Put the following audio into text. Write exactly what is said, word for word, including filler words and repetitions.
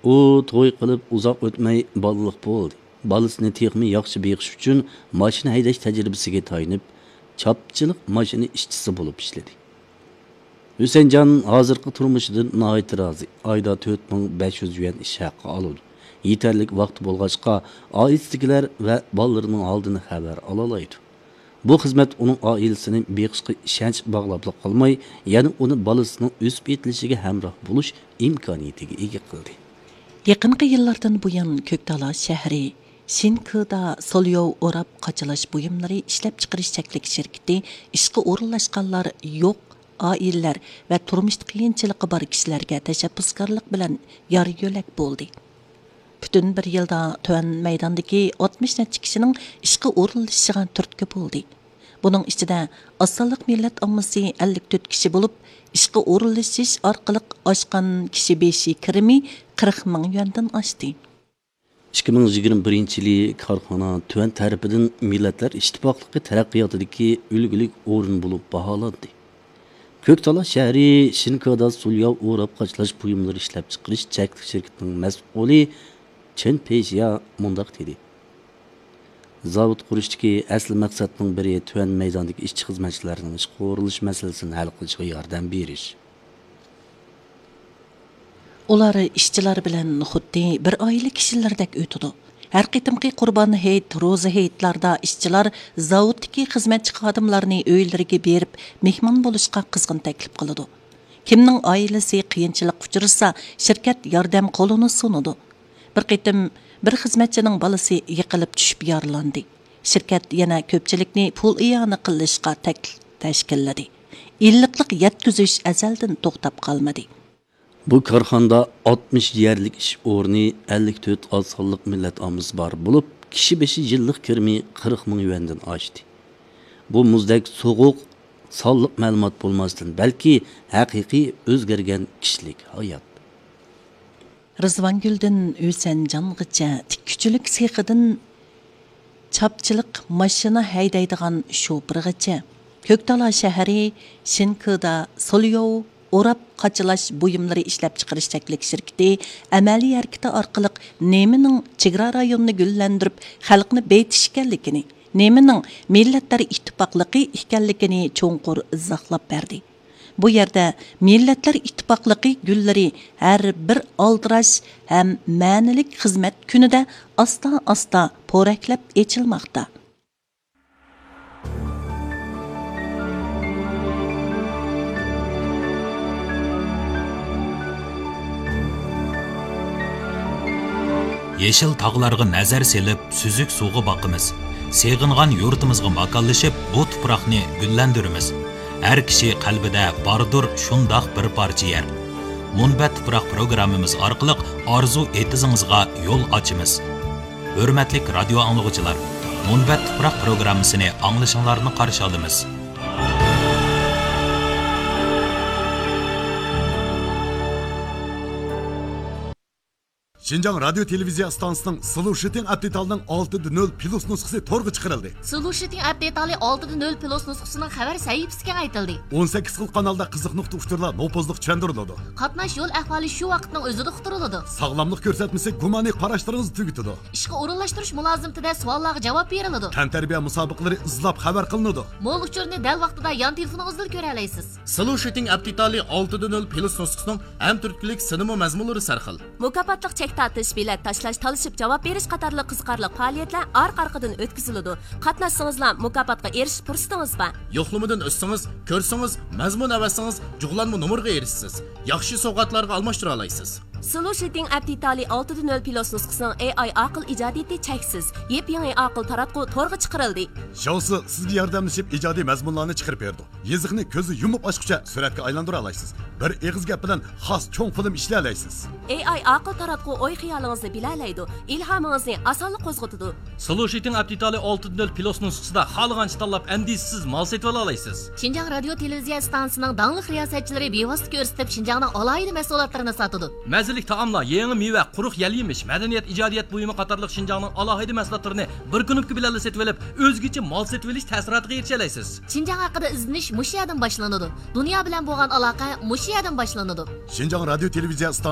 ئۇ توي قىلىپ ئۇزاق ئۆتمەي بالىلىق بولدى. بالىسىنى تېخىمۇ ياخشى بېقىش ئۈچۈن ماشىنا ھەيدەش تەجرىبىسىگە تايىنىپ، چاپچىلىق ماشىنا ئىشچىسى بولۇپ ئىشلىدى. ھۈسەنجان ھازىرقى تۇرمۇشىدىن ناھايىتى رازى. ئايدا تۆت مىڭ بەش يۈز يۈەن ئىش ھەققى ئالىدۇ. يېتەرلىك ۋاقتى بولغاچقا، ئائىلىسىدىكىلەر ۋە بالىلىرىنىڭ ھالىدىن خەۋەر ئالالايدۇ. بۇ خىزمەت ئۇنىڭ ئائىلىسىنى بېقىشقا ئىشەنچ باغلاپلا قالماي، يەنە ئۇنى بالىسىنىڭ ئۆسۈپ يېتىلىشىگە ھەمراھ بولۇش ئىمكانىيىتىگە ئىگە قىلدى. يېقىنقى يىللاردىن بۇيان، كۆكتالا شەھىرى شىنكىدا سولياۋ ئوراپ قاچىلاش بۇيۇملىرى ئىشلەپچىقىرىش چەكلىك شىركىتى ئىشقا ئورۇنلاشقانلار يوق ئائىلىلەر ۋە تۇرمۇشتا قىيىنچىلىقى بار كىشىلەرگە تەشەببۇسكارلىق بىلەن يار يۆلەك بولدى. پۈتۈن بىر يىلدا تۆۋەن مەيداندىكى ئاتمىش نەچچە كىشىنىڭ ئىشقا ئورۇنلىشىشىغا تۈرتكە بولدى. بۇنىڭ ئىچىدە ئاز سانلىق مىللەت ئاممىسى ئەللىك تۆت كىشى بولۇپ، ئىشقا ئورۇنلىشىش ئارقىلىق ئاشقان كىشى بېشى كىرىمى قىرىق مىڭ يۈەندىن ئاشتى. ئىككى مىڭ يىگىرمە بىرىنچى يىلى كارخانا تۆۋەن تەرىپىدىن مىللەتلەر ئىتتىپاقلىقى تەرەققىياتىدىكى ئۈلگىلىك ئورۇن بولۇپ باھالاندى. كۆكتالا شەھىرى شىنكىدا سولياۋ ئوراپ قاچىلاش بۇيۇملىرى ئىشلەپچىقىرىش چەكلىك شىركىتىنىڭ مەسئۇلى چېن پېيشيا مۇنداق دېدى: زاۋۇت قۇرۇشتىكى ئەسلى مەقسەتنىڭ بىرى تۆۋەن مەيداندىكى ئىشچى-خىزمەتچىلەرنىڭ ئىشقا ئورۇنلىشىش مەسىلىسىنى ھەل قىلىشىغا ياردەم بېرىش. ئۇلار ئىشچىلار بىلەن خۇددى بىر ئائىلە كىشىلىرىدەك ئۆتىدۇ. ھەر قېتىمقى قۇربان ھېيت، روزا ھېيتلاردا ئىشچىلار زاۋۇتتىكى خىزمەتچى خادىملارنى ئۆيلىرىگە بېرىپ مېھمان بولۇشقا قىزغىن تەكلىپ قىلىدۇ. كىمنىڭ ئائىلىسى قىيىنچىلىققا ئۇچرىسا، شىركەت ياردەم قولىنى سۇنىدۇ. بىر قېتىم بىر خىزمەتچىنىڭ بالىسى يىقىلىپ چۈشۈپ يارىلاندى. شىركەت يەنە كۆپچىلىكنى پۇل ئىئانە قىلىشقا تەكلىپ تەشكىللىدى. ئىللىقلىق يەتكۈزۈش ئەزەلدىن توختاپ قالمىدى. بۇ كارخانىدا ئاتمىش يەرلىك ئىش ئورنى، ئەللىك تۆت ئاز سانلىق مىللەت ئاممىسى بار بولۇپ، كىشى بېشى يىللىق كىرىمى قىرىق مىڭ يۈەندىن ئاشتى. بۇ مۇزدەك سوغۇق، سانلىق مەلۇمات بولماستىن، بەلكى ھەقىقىي ئۆزگەرگەن كىشىلىك ھايات. رىزۋانگۈلدىن ھۈسەنجانغىچە تىككۈچىلىك سېخىدىن چاپچىلىق ماشىنا ھەيدەيدىغان شوپۇرغىچە، كۆكتالا شەھىرى شىنكىدا سولياۋ ئوراپ قاچىلاش بۇيۇملىرى ئىشلەپچىقىرىش چەكلىك شىركىتى ئەمەلىي ھەرىكىتى ئارقىلىق نېمىنىڭ چېگرا رايونىنى گۈللەندۈرۈپ، خەلقنى بېيىتىش ئىكەنلىكىنى، نېمىنىڭ مىللەتلەر ئىتتىپاقلىقى ئىكەنلىكىنى چوڭقۇر ئىزاھلاپ بەردى. بۇ يەردە مىللەتلەر ئىتتىپاقلىقى گۈللىرى ھەر بىر ئالدىراش ھەم مەنىلىك خىزمەت كۈنىدە ئاستا-ئاستا پورەكلەپ ئېچىلماقتا. يېشىل تاغلارغا نەزەر سېلىپ، سۈزۈك سۇغا باقىمىز. سېغىنغان يۇرتىمىزغا ماكانلىشىپ، بۇ تۇپراقنى گۈللەندۈرىمىز. ھەر كىشى قەلبىدە باردۇر شۇنداق بىر پارچە يەر. مۇنبەت تۇپراق پروگراممىمىز ئارقىلىق ئارزۇ ئېتىزىڭىزغا يول ئاچىمىز. ھۆرمەتلىك رادىيو ئاڭلىغۇچىلار، مۇنبەت تۇپراق پروگراممىسىنى ئاڭلىشىڭلارنى قارشى ئالىمىز. شىنجاڭ رادىيو تېلېۋىزىيە ئىستانسىسىنىڭ سلۇشىتىڭ ئەپ دېتالىنىڭ ئالتە دە نۆل پلۇس نۇسخىسى تورغا چىقىرىلدى. سلۇشىتىڭ ئەپ دېتالى ئالتە دە نۆل پلۇس نۇسخىسىنىڭ خەۋەر سەھىپىسى كېڭەيتىلدى. ئون سەككىز خىل قانالدا قىزىق نۇقتا ئۇچۇرلار نوپۇزلۇق چۈشەندۈرۈلىدۇ. قاتناش يول ئەھۋالى شۇ ۋاقىتنىڭ ئۆزىدە ئۇقتۇرۇلىدۇ. ساغلاملىق كۆرسەتمىسى گۇمانىي قاراشلىرىڭىزنى تۈگىتىدۇ. ئىشقا ئورۇنلاشتۇرۇش مۇلازىمىتىدە سوئاللارغا جاۋاب بېرىلىدۇ. تەنتەربىيە مۇسابىقىلىرى ئىزلاپ خەۋەر قىلىنىدۇ. مول ئۇچۇرنى دەل ۋاقتىدا يان تېلېفونىڭىزدىلا كۆرەلەيسىز. سلۇشىتىڭ ئەپ دېتالى ئالتە دە نۆل پلۇس نۇسخىسىنىڭ ھەم تۈرتكىلىك سىنىمۇ مەزمۇنلىرى سەرخىل. مۇكاپاتلىق چەك تارتىش، بېلەت تاشلاش، تالىشىپ جاۋاب بېرىش قاتارلىق قىزىقارلىق پائالىيەتلەر ئارقا-ئارقىدىن ئۆتكۈزۈلىدۇ. قاتناشسىڭىزلا مۇكاپاتقا ئېرىشىش پۇرسىتىڭىز بار. يوقلىمىدىن ئۆتسىڭىز، كۆرسىڭىز، مەزمۇن ئەۋەتسىڭىز، جۇغلانما نومۇرغا ئېرىشىسىز. ياخشى سوۋغاتلارغا ئالماشتۇرالايسىز. سلۇشىتىڭ ئەپ دېتالى ئالتە دە نۆل پلۇس نۇسخىسىنىڭ ئېي ئاي ئاقىل ئىجادىيىتى چەكسىز. يېپيېڭى ئاقىل تاراتقۇ تورغا چىقىرىلدى. شاۋسى سىزگە ياردەملىشىپ ئىجادىي مەزمۇنلارنى چىقىرىپ بېرىدۇ. يېزىقنى كۆزنى يۇمۇپ ئاچقۇچە سۈرەتكە ئايلاندۇرالايسىز. بىر ئېغىز گەپ بىلەن خاس چوڭ فىلىم ئىشلىيەلەيسىز. ئېي ئاي ئاقىل تاراتقۇ ئوي-خىيالىڭىزنى بىلەلەيدۇ، ئىلھامىڭىزنى ئاسانلا قوزغىتىدۇ. سلۇشىتىڭ ئەپ دېتالى ئالتە دە نۆل پلۇس نۇسخىسىدا خالىغانچە تاللاپ، ئەندىشىسىز مال سېتىۋالالايسىز. شىنجاڭ رادىيو تېلېۋىزىيە ئىستانسىسىنىڭ داڭلىق رىياسەتچىلىرى بىۋاسىتە كۆرسىتىپ، شىنجاڭنىڭ ئالاھىدە مەھسۇلاتلىرىنى ساتىدۇ. مەززىلىك تائاملار، يېڭى مېۋە، قۇرۇق يەل يېمىش، مەدەنىيەت، ئىجادىيەت بۇيۇمى قاتارلىق شىنجاڭنىڭ ئالاھىدە مەھسۇلاتلىرىنى بىر كۇنۇپكا بىلەنلا سېتىۋېلىپ، ئۆزگىچە مال سېتىۋېلىش تەسىراتىغا ئېرىشەلەيسىز. شىنجاڭ ھەققىدە ئىزدىنىش مۇشۇ يەردىن باشلىنىدۇ. دۇنيا بىلەن بولغان ئالاقە مۇشۇ يەردىن باشلىنىدۇ. شىنجاڭ رادىيو تېلېۋىزىيە